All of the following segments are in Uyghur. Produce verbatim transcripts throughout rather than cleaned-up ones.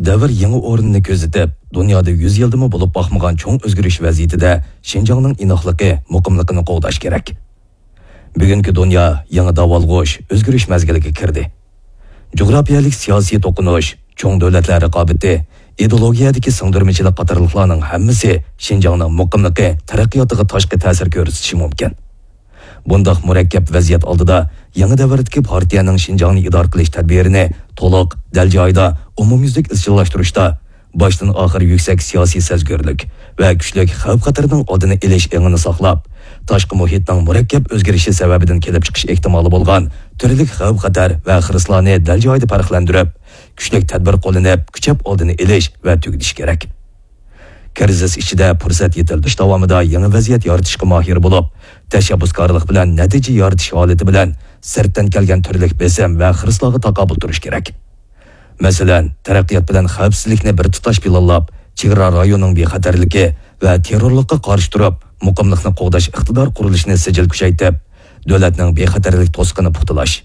دەۋر يېڭى ئورنىنى كۆزىتىپ، دۇنيادا يۈز يىلدىمۇ بولۇپ باقمىغان چوڭ ئۆزگىرىش ۋەزىيىتىدە شىنجاڭنىڭ ئىناقلىقى، مۇقىملىقىنى قوغداش كېرەك. بۈگۈنكى دۇنيا يېڭى داۋالغۇش، ئۆزگىرىش مەزگىلىگە كىردى. جۇغراپىيەلىك سىياسىي توقۇنۇش، چوڭ دۆلەتلەر رىقابىتى، ئىدېئولوگىيەدىكى سىڭدۈرمىچىلىك قاتارلىقلارنىڭ ھەممىسى شىنجاڭنىڭ مۇقىملىقى، تەرەققىياتىغا تاشقى تەسىر كۆرسىتىشى مۇمكىن. بۇنداق مۇرەككەپ ۋەزىيەت ئالدىدا يېڭى دەۋردىكى پارتىيەنىڭ شىنجاڭنى ئىدارە قىلىش تەدبىرىنى تولۇق، دەل جايىدا، ئومۇميۈزلۈك ئىزچىللاشتۇرۇشتا باشتىن ئاخىر يۈكسەك سىياسىي سەزگۈرلۈك ۋە كۈچلۈك خەۋپ-خەتەرنىڭ ئالدىنى ئېلىش ئېڭىنى ساقلاپ، تاشقى مۇھىتنىڭ مۇرەككەپ ئۆزگىرىشى سەۋەبىدىن كېلىپ چىقىش ئېھتىمالى بولغان تۈرلۈك خەۋپ-خەتەر ۋە خىرىسلارنى دەل جايىدا پەرقلەندۈرۈپ، كۈچلۈك تەدبىر قوللىنىپ، كۈچەپ ئالدىنى ئېلىش ۋە تۈگىتىش كېرەك. كىرىزىس ئىچىدە پۇرسەت يېتىلدۈرۈش داۋامىدا يېڭى ۋەزىيەت يارىتىشقا ماھىر بولۇپ، تەشەببۇسكارلىق بىلەن نەتىجە يارىتىش ھالىتى بىلەن سىرتتىن كەلگەن تۈرلۈك بېسىم ۋە خىرىسلارغا تاقابىل تۇرۇش كېرەك. مەسىلەن، تەرەققىيات بىلەن خەۋپسىزلىكنى بىر تۇتاش پىلانلاپ، چېگرا رايونىنىڭ بىخەتەرلىكى ۋە تېررورلۇققا قارشى تۇرۇپ، مۇقىملىقنى قوغداش ئىقتىدار قۇرۇلۇشىنى سىجىل كۈچەيتىپ، دۆلەتنىڭ بىخەتەرلىك توسۇقىنى پۇختىلاش،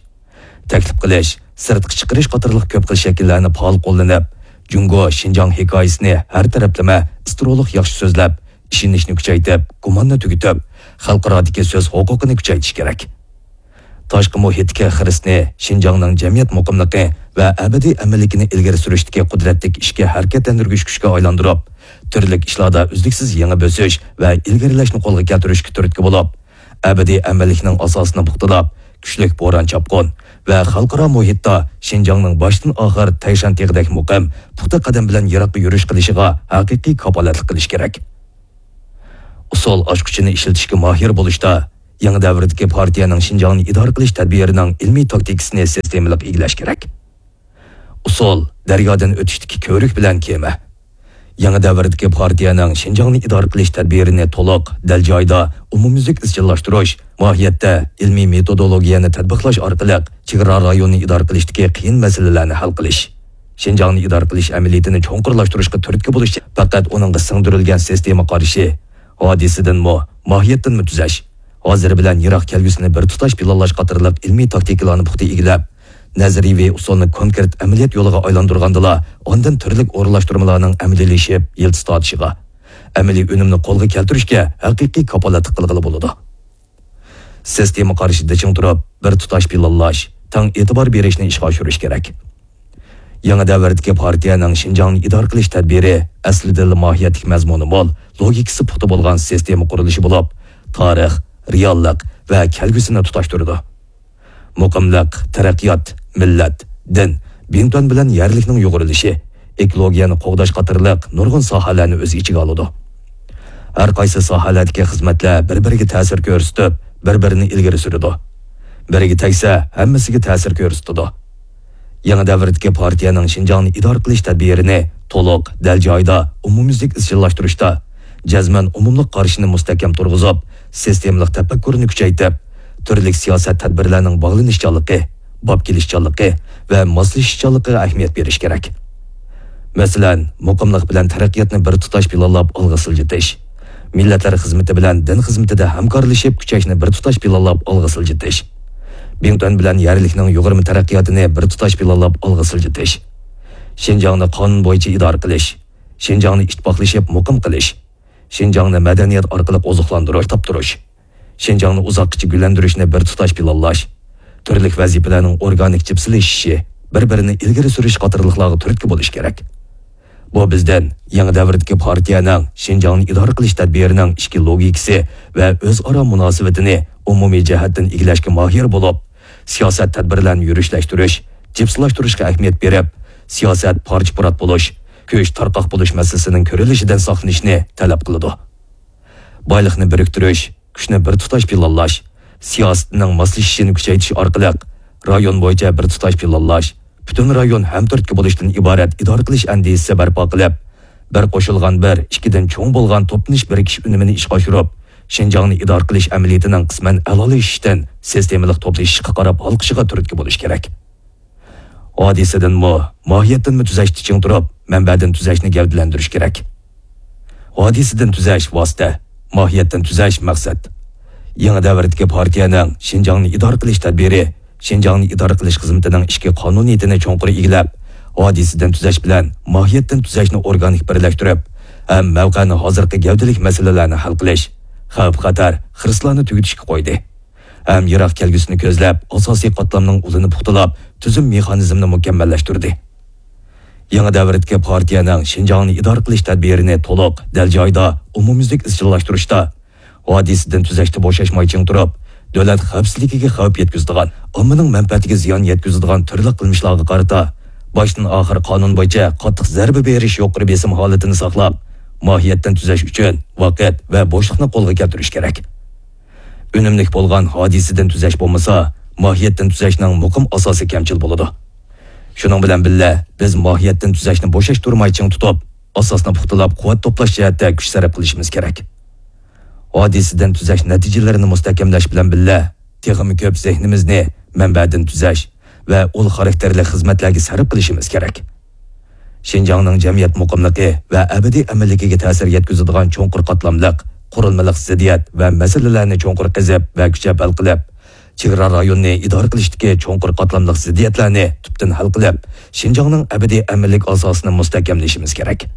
تەكلىپ قىلىش، سىرتقا چىقىرىش قاتارلىق كۆپ خىل شەكىللەرنى پائال قوللىنىپ، جۇڭگو شىنجاڭ ھېكايىسىنى ھەر تەرەپلىمە، ئىسترولۇق ياخشى سۆزلەپ، ئىشىنىشنى كۈچەيتىپ، گۇماننى تۈگىتىپ، خەلقئارادىكى سۆز ھوقۇقىنى كۈچەيتىش كېرەك. تاشقى مۇھىتتىكى خىرىسنى، شىنجاڭنىڭ جەمئىيەت مۇقىملىقى ۋە ئەبەدىي ئەمىنلىكىنى ئىلگىرى سۈرۈشتىكى قۇدرەتلىك ئىچكى ھەرىكەتلەندۈرگۈچ كۈچكە ئايلاندۇرۇپ، تۈرلۈك ئىشلاردا ئۈزلۈكسىز يېڭى بۆسۈش ۋە ئىلگىرىلەشنى قولغا كەلتۈرۈشكە تۈرتكە بولۇپ، ئەبەدىي ئەمىنلىكنىڭ ئاساسىنى پۇختىلاپ، كۈچلۈك بوران-چاپقۇن ۋە خەلقئارا مۇھىتتا شىنجاڭنىڭ باشتىن ئاخىر تەيشەن تېغىدەك مۇقىم، پۇختا قەدەم بىلەن يىراققا يۈرۈش قىلىشىغا ھەقىقىي كاپالەتلىك قىلىش كېرەك. ئۇسۇل ئاچقۇچىنى ئىشلىتىشكە ماھىر بولۇشتا، يېڭى دەۋردىكى پارتىيەنىڭ شىنجاڭنى ئىدارە قىلىش تەدبىرىنىڭ ئىلمىي تاكتىكىسىنى سىستېمىلىق ئىگىلەش كېرەك. ئۇسۇل، دەريادىن ئۆتۈشتىكى كۆۋرۈك بىلەن كېمە. يېڭى دەۋردىكى پارتىيەنىڭ شىنجاڭنى ئىدارە قىلىش تەدبىرىنى تولۇق، دەل جايىدا، ئومۇميۈزلۈك ئىزچىللاشتۇرۇش، ماھىيەتتە ئىلمىي مېتودولوگىيەنى تەتبىقلاش ئارقىلىق چېگرا رايونىنى ئىدارە قىلىشتىكى قىيىن مەسىلىلەرنى ھەل قىلىش. شىنجاڭنى ئىدارە قىلىش ئەمەلىيىتىنى چوڭقۇرلاشتۇرۇشقا تۈرتكە بولۇش پەقەت ئۇنىڭغا سىڭدۈرۈلگەن سىستېما قارىشى، ھادىسىدىنمۇ، ماھىيەتتىنمۇ تۈزەش، ھازىر بىلەن يىراق كەلگۈسىنى بىر تۇتاش پىلانلاش قاتارلىق ئىلمىي تاكتىكىلارنى پۇختا ئىگىلەپ، نەزەرىيىۋى ئۇسۇلنى كونكرېت ئەمەلىيەت يولىغا ئايلاندۇرغاندىلا، ئاندىن تۈرلۈك ئورۇنلاشتۇرمىلارنىڭ ئەمەلىيلىشىپ، يىلتىز تارتىشىغا، ئەمەلىي ئۈنۈمنى قولغا كەلتۈرۈشكە ھەقىقىي كاپالەتلىك قىلغىلى بولىدۇ. سىستېما قارىشىدا چىڭ تۇرۇپ، بىر تۇتاش پىلانلاش، تەڭ ئېتىبار بېرىشنى ئىشقا ئاشۇرۇش كېرەك. يېڭى دەۋردىكى پارتىيەنىڭ شىنجاڭنى ئىدارە قىلىش تەدبىرى ئەسلىدىنلا ماھىيەتلىك مەزمۇنى مول، لوگىكىسى پۇختا بولغان سىستېما قۇرۇلۇشى بولۇپ، تارىخ، رېئاللىق ۋە كەلگۈسىنى تۇتاشتۇرىدۇ. مۇقىملىق، تەرەققىيات، مىللەت، دىن، بىڭتۈەن بىلەن يەرلىكنىڭ يۇغۇرۇلۇشى، ئېكولوگىيەنى قوغداش قاتارلىق نۇرغۇن ساھەلەرنى ئۆز ئىچىگە ئالىدۇ. ھەر قايسى ساھەلەردىكى خىزمەتلەر بىر-بىرىگە تەسىر كۆرسىتىپ، بىر-بىرىنى ئىلگىرى سۈرىدۇ. بىرىگە تەگسە، ھەممىسىگە تەسىر كۆرسىتىدۇ. يېڭى دەۋردىكى پارتىيەنىڭ شىنجاڭنى ئىدارە قىلىش تەدبىرىنى تولۇق، دەل جايىدا، ئومۇميۈزلۈك ئىزچىللاشتۇرۇشتا، جەزمەن ئومۇملۇق قارىشىنى مۇستەھكەم تۇرغۇزۇپ، سىستېمىلىق تەپەككۇرنى كۈچەيتىپ، تۈرلۈك سىياسەت تەدبىرلەرنىڭ باغلىنىشچانلىقى، باب كېلىشچانلىقى ۋە ماسلىشىشچانلىقىغا ئەھمىيەت بېرىش كېرەك. مەسىلەن، مۇقىملىق بىلەن تەرەققىياتنى بىر تۇتاش پىلانلاپ ئالغا سىلجىتىش، مىللەتلەر خىزمىتى بىلەن دىن خىزمىتىدە ھەمكارلىشىپ كۈچەشنى بىر تۇتاش پىلانلاپ ئالغا سىلجىتىش، بىڭتۈەن بىلەن يەرلىكنىڭ يۇغۇرما تەرەققىياتىنى بىر تۇتاش پىلانلاپ ئالغا سىلجىتىش، شىنجاڭنى قانۇن بويىچە ئىدارە قىلىش، شىنجاڭنى ئىتتىپاقلىشىپ مۇقىم قىلىش، شىنجاڭنى مەدەنىيەت ئارقىلىق ئوزۇقلاندۇرۇش، تاپتۇرۇش، شىنجاڭنى ئۇزاققىچە گۈللەندۈرۈشنى بىر تۇتاش پىلانلاش، تۈرلۈك ۋەزىپىلەرنىڭ ئورگانىك جىپسىلىشىشى، بىر-بىرىنى ئىلگىرى سۈرۈش قاتارلىقلارغا تۈرتكە بولۇش كېرەك. بۇ بىزدىن يېڭى دەۋردىكى پارتىيەنىڭ شىنجاڭنى ئىدارە قىلىش تەدبىرىنىڭ ئىچكى لوگىكىسى ۋە ئۆزئارا مۇناسىۋىتىنى ئومۇمىي جەھەتتىن ئىگىلەشكە ماھىر بولۇپ، سىياسەت تەدبىرلەرنى يۈرۈشلەشتۈرۈش، جىپسىلاشتۇرۇشقا ئەھمىيەت بېرىپ، سىياسەت پارچە-پۇرات بولۇش، كۈچ تارقاق بولۇش مەسىلىسىنىڭ كۆرۈلۈشىدىن ساقلىنىشنى تەلەپ قىلىدۇ. بايلىقنى بىرىكتۈرۈش، كۈچنى بىر تۇتاش پىلانلاش، سىياسىتىنىڭ ماسلىشىشىنى كۈچەيتىش ئارقىلىق رايون بويىچە بىر تۇتاش پىلانلاش، پۈتۈن رايون ھەم تۈرتكە بولۇشتىن ئىبارەت ئىدارە قىلىش ئەندىزىسى بەرپا قىلىپ، بىر قوشۇلغان بىر، ئىككىدىن چوڭ بولغان توپلىنىش بىرىكىش ئۈنۈمىنى ئىشقا ئاشۇرۇپ، شىنجاڭنى ئىدارە قىلىش ئەمەلىيىتىنىڭ قىسمەن ئەلالىشىشتىن سىستېمىلىق توپلىشىشقا قاراپ ھالقىشىغا تۈرتكە بولۇش كېرەك. ھادىسىدىنمۇ، ماھىيەتتىنمۇ تۈزەشتە چىڭ تۇرۇپ، مەنبەدىن تۈزەشنى گەۋدىلەندۈرۈش كېرەك. ھادىسىدىن تۈزەش ۋاسىتە، ماھىيەتتىن تۈزەش مەقسەت. يېڭى دەۋردىكى پارتىيەنىڭ شىنجاڭنى ئىدارە قىلىش تەدبىرى شىنجاڭنى ئىدارە قىلىش خىزمىتىنىڭ ئىچكى قانۇنىيىتىنى چوڭقۇر ئىگىلەپ، ھادىسىدىن تۈزەش بىلەن ماھىيەتتىن تۈزەشنى ئورگانىك بىرلەشتۈرۈپ، ھەم مەۋقەنى ھازىرقى گەۋدىلىك مەسىلىلەرنى ھەل قىلىش، خەۋپ-خەتەر، خىرىسلارنى تۈگىتىشكە قويدى. ھەم يىراق كەلگۈسىنى كۆزلەپ، ئاساسىي قاتلامنىڭ ئۇلىنى پۇختىلاپ، تۈزۈم مېخانىزمىنى مۇكەممەللەشتۈردى. يېڭى دەۋردىكى پارتىيەنىڭ شىنجاڭنى ئىدارە قىلىش تەدبىرىنى تولۇق، دەل جايىدا، ئومۇميۈزلۈك ئىزچىللاشتۇرۇشتا، ھادىسىدىن تۈزەشتە بوشاشماي چىڭ تۇرۇپ، دۆلەت خەۋپسىزلىكىگە خەۋپ يەتكۈزىدىغان، ئاممىنىڭ مەنپەئەتىگە زىيان يەتكۈزىدىغان تۈرلۈك قىلمىشلارغا قارىتا، باشتىن ئاخىر قانۇن بويىچە قاتتىق زەربە بېرىش يۇقىرى بېسىم ھالىتىنى ساقلاپ، ماھىيەتتىن تۈزەش ئۈچۈن ۋاقىت ۋە بوشلۇقنى قولغا كەلتۈرۈش كېرەك. ئۈنۈملۈك بولغان ھادىسىدىن تۈزەش بولمىسا، ماھىيەتتىن تۈزەشنىڭ مۇقىم ئاساسى كەمچىل بولىدۇ. شۇنىڭ بىلەن بىللە، بىز ماھىيەتتىن تۈزەشنى بوشاشتۇرماي چىڭ تۇتۇپ، ئاساسنى پۇختىلاپ، قۇۋۋەت توپلاش جەھەتتە كۈچ سەرپ قىلىشىمىز كېرەك. ھادىسىدىن تۈزەش نەتىجىلىرىنى مۇستەھكەملەش بىلەن بىللە، تېخىمۇ كۆپ زېھنىمىزنى مەنبەدىن تۈزەش ۋە ئۇل خاراكتېرلىك خىزمەتلەرگە سەرپ قىلىشىمىز كېرەك. شىنجاڭنىڭ جەمئىيەت مۇقىملىقى ۋە ئەبەدىي ئەمىنلىكىگە تەسىر يەتكۈزىدىغان چوڭقۇر قاتلاملىق، قۇرۇلمىلىق زىددىيەت ۋە مەسىلىلەرنى چوڭقۇر قېزىپ ۋە كۈچەپ ھەل قىلىپ، چېگرا رايونىنى ئىدارە قىلىشتىكى چوڭقۇر قاتلاملىق زىددىيەتلەرنى تۈپتىن ھەل قىلىپ، شىنجاڭنىڭ ئەبەدىي ئەمىنلىك ئاساسىنى مۇستەھكەملىشىمىز كېرەك.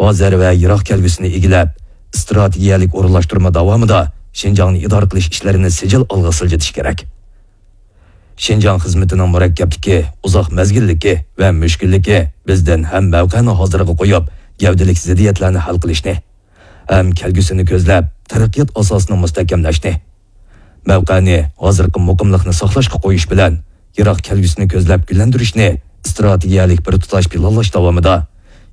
ھازىر ۋە يىراق كەلگۈسىنى ئىگىلەپ، ئىستراتېگىيەلىك ئورۇنلاشتۇرما داۋامىدا شىنجاڭنى ئىدارە قىلىش ئىشلىرىنى سىجىل ئالغا سىلجىتىش كېرەك. شىنجاڭ خىزمىتىنىڭ مۇرەككەپلىكى، ئۇزاق مەزگىللىكى ۋە مۈشكۈللۈكى بىزدىن ھەم مەۋقەنى ھازىرغا قويۇپ، گەۋدىلىك زىددىيەتلەرنى ھەل قىلىشنى، ھەم كەلگۈسىنى كۆزلەپ، تەرەققىيات ئاساسىنى مۇستەھكەملەشنى، مەۋقەنى ھازىرقى مۇقىملىقنى ساقلاشقا قويۇش بىلەن، يىراق كەلگۈسىنى كۆزلەپ گۈللەندۈرۈشنى ئىستراتېگىيەلىك بىر تۇتاش پىلانلاش داۋامىدا،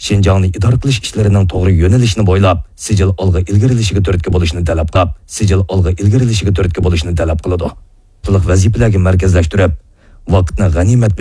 شىنجاڭنى ئىدارە قىلىش ئىشلىرىنىڭ توغرا يۆنىلىشىنى بويلاپ، سىجىل ئالغا ئىلگىرىلىشىگە تۈرتكە بولۇشنى تەلەپ قىلىپ، سىجىل ئالغا ئىلگىرىلىشىگە تۈرتكە بولۇشنى تەلەپ قىلىدۇ. ۋەزىپىلەرگە مەركەزلەشتۈرۈپ، ۋاقىتنى غەنىيمەت